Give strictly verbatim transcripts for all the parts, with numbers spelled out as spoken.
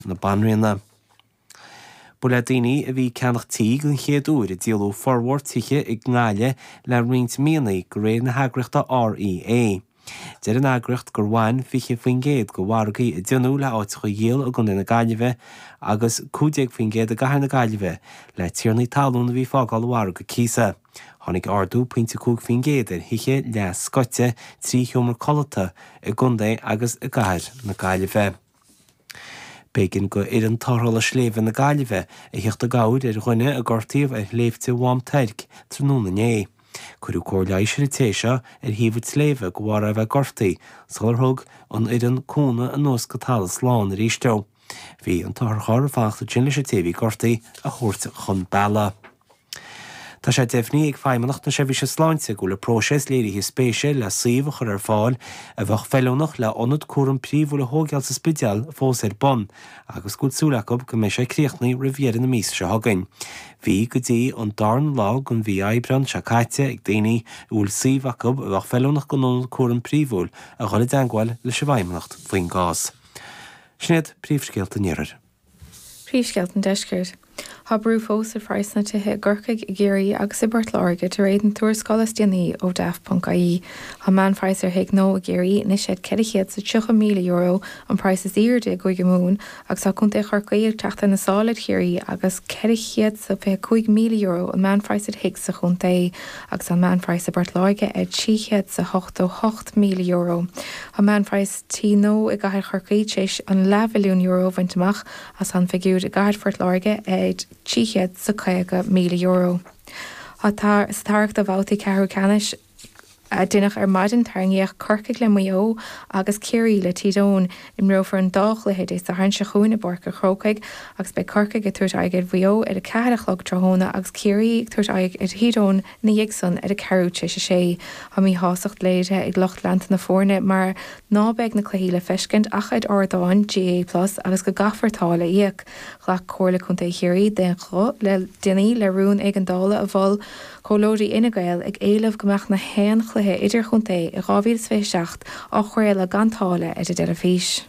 na Banríona. Ba le daoine a bhí ag ceannach tí den chéad uair a díoladh formhór tithe i nGaillimh le roinnt míonna de réir na heagraíochta REA. Deir an eagraíocht gur bhain fiche faoin gcéad de mhargaí a déanadh le áiteacha a dhíol i gContae na Gaillimhe agus cúig déag faoin gcéad i gCathair na Gaillimhe le tiarnaí talún a bhí ag fágáil an mhargaidh cíosa. Tháinig ardú pointe cúig faoin gcéad ar thithe leathscoite trí sheomra codlata i gContae agus i gCathair na Gaillimhe. B'éigean do fhoireann tarrthála sléibhe na Gaillimhe a theacht i gcabhair ar dhuine a gortaíodh ar shléibhte Mhám Toirc tráthnóna inné. Cuireadh cóir leighis ar an té seo ar thaobh an tsléibhe de bharr é a bheith gortaithe sular thug an fhoireann cúnamh anuas go talamh slán arís dó. Bhí an t-otharcharr ag fanacht ansin leis an té a bhí gortaithe a thabhairt chun bealaigh. Tá sé deimhnithe ag Feidhmeannacht na Seirbhíse Sláinte go bhfuil an próiseas léirithe spéise le suíomh a chur ar fáil a bheadh feiliúnach le ionad cúram príomhúil a thógáil sa Spidéal fós ar bun agus go bhfuil súil acu go mbeidh sé críochnaithe roimh dheireadh na míosa seo chugainn. Bhí go dtí an darna lá den mhí Aibreán seo caite ag daoine a bhfuil suíomh acu a bheadh feiliúnach don ionad cúram príomhúil a dhul i dteagmháil leis an bhFeidhmeannacht faoin gcás. Sin iad príomhscéalta an Iarthair. Príomhscéalta an Deiscirt. Tá brú fós ar phraghsanna tithe i gCorcaigh, i gCiarraí agus i bPort Láirge de réir na tuarascála is déanaí ó Daft.ie. Tá meánphraghas ar thigh nua i gCiarraí anois ag ceithre chéad is tríocha míle euro, an praghas is airde i gCúige Mumhan, agus tá Contae Chorcaí ag teacht ar na sála ar Chiarraí agus ceithre chéad is fiche cúig míle euro an meánphraghas ar thigh sa chontae, agus tá an meánphraghas i bPort Láirge ar trí chéad is ochtó hocht míle euro. Tá meánphraghas tí nua i gcathair Chorcaí tar éis an leathmhilliún euro a bhaint amach agus tá an figiúr i gcathair Phort Láirge ar trí chéad is caoga míle euro. Tá sa tarrac do bhabhtaí ceathrú ceannais a deineadh ar maidin tarraingíodh Corcaigh le Maigh Eo agus Ciarraí le Tír Eoghain. Imreofar an dá chluiche Dé Sathairn seo chugainn i bPáirc an Chrócaigh agus beidh Corcaigh ag tabhairt aghaidh ar Mhaigh Eo ar a ceathair a chlog tráthnóna agus Ciarraí ag tabhairt aghaidh ar Thír Eoghain ina dhiaidh san ar a ceathrú tar éis a sé. Tá míshástacht léirithe ag lucht leanta na foirne mar ná beidh na cluichí le feiscint ach ar ardáin GAA Plus agus go gcaithfear táille a íoc. Ghlac Comhairle Contae Chiarraí d'aon ghuth le déanaí le rún éigeandála a mhol Comhairleoirí Fhine Gael ag éileamh go mbeadh na haon chluiche idirchontae i dhá mhíle is fiche seacht á chraoladh gan táille ar an dteilifís.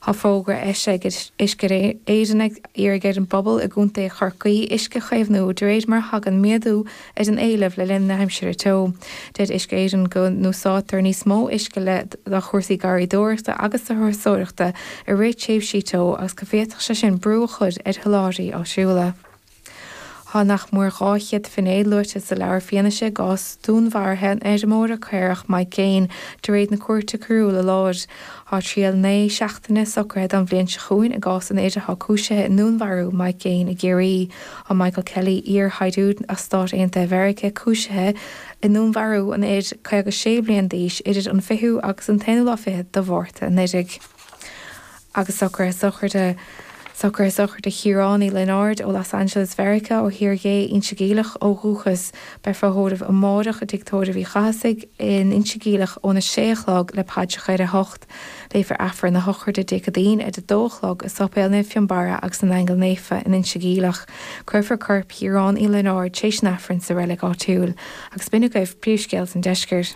Tá fógra eisithe ag Uisce Éireann ag iarraidh ar an bpobal i gContae Chorcaí uisce a chaomhnú de réir mar a thagann méadú ar an éileamh le linn na haimsire teo. Deir Uisce Éireann go n-úsáidtear níos mó uisce le do chúrsaí garraíodóireachta agus turasóireachta i rith tréimhsí teo agus go bhféadfadh sé sin brú a chur ar sholáthraí áitiúla. Tá nach mór dhá chéad finné luaite sa leabhar fianaise i gcás dúnmharaithe an fheirmeora caorach Mike Gaine de réir na Cúirte Coiriúla Láir. Tá triail naoi seachtaine socraithe don bhliain seo chugainn i gcás an fhir atá cúisithe i ndúnmharú Mike Gaine i gCiarraí. Tá Michael Kelly iar-shaighdiúir as Stáit Aontaithe Mheiriceá cúisithe i ndúnmharú an fhir caoga sé bliain d'aois idir an fichiú agus an t-aonú lá fichead de Mhárta anuraidh. Agus socruithe sochraide Socruithe sochraide Chiaráin Uí Lionáird ó Los Angeles Mheiriceá ó Thír Gé Inse Geimhleach ó dhúchas. Beifear á thórramh amárach i dTigh Tórraimh Uí Chathasaigh in Inse Geimhleach óna sé a chlog le paidreacha ar a hocht. Léifear Aifreann na sochraide Dé Céadaoin ar a dó a chlog i Séipéal Naomh Fionnbarra agus na nAingeal Naofa in Inse Geimhleach. Cuirfear corp Chiaráin Uí Lionáird tar éis an Aifrinn sa reilig áitiúil. Agus b'in agaibh príomhscéalta an deiscirt.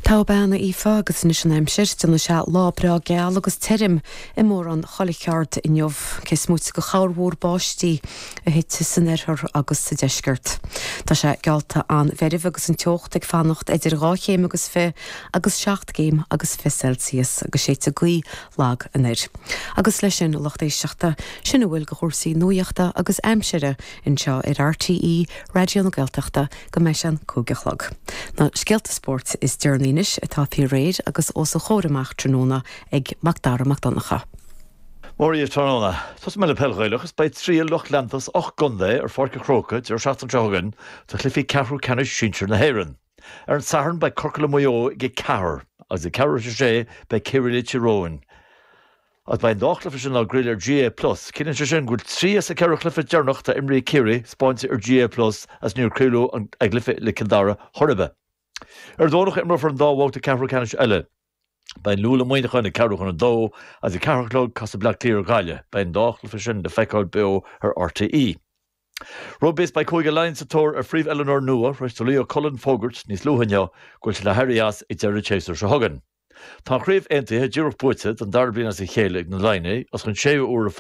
Togha bean a Aoife agus anois an aimsir, déanfaidh sé lá breá geal agus tirim i mórán chuile cheard inniu, cé is móite de chorrmhúr báistí a thit san oirthear agus sa deisceart. Tá sé geallta an-mheirbh agus an teocht ag fanacht idir dhá chéim agus fiche agus seacht gcéim agus fiche Celsius agus séidfidh gaoth lag anoir. Agus leis sin, a lucht éisteachta, sin a bhfuil de chúrsaí nuachta agus aimsire anseo ar RTÉ Raidió na Gaeltachta go mbeidh sé an cúig a chlog. Na scéalta spóirt is deireanaí anois atá faoi réir agus os a chomhair amach tráthnóna ag Mac Dara Mac Donncha. Mora tráthnóna. Tosóidh mé le peil Ghaelach is beidh triail lucht leanta as ocht gcontae ar Pháirc an Chrócaigh deireadh seachtaine seo chugainn do chluichí ceathrú ceannais sinsir na hÉireann. Ar an Satharn beidh Corcaigh le Maigh Eo ag a ceathair agus ag ceathrú tar éis a sé beidh Ciarraí le Tír Eoghain. Agus beidh an dá chluiche sin á gcraoladh ar GAA Plus. Ciallaíonn sé sin go bhfuil trí as na ceithre chluiche deireanach atá imrithe ag Ciarraí spáinte ar GAA Plus as níor craoladh a gcluiche le Cill Dara chor ar bith. Ar an Domhnach imreofar an dá bhabhta ceathrú ceannais eile. Beidh an Lú le Muineachán ag ceathrú chun a dó agus ag ceathair a chlog casfaidh Bleá Cliath ar Ghaillimh. Beidh an dá chluiche sin le feiceáil beo ar RTÉ. Rugbaí is beidh Cúige Laighean sa tóir ar phríomh-oiliúnóir nua tar éis do Leo Cullen fógairt níos luaithe inniu go bhfuil sé le héirí as ag deireadh an tséasúir seo chugainn. Tá craobh aontaithe díreach buaite den dara bliain as a chéile ag na Laighnigh as an séú uair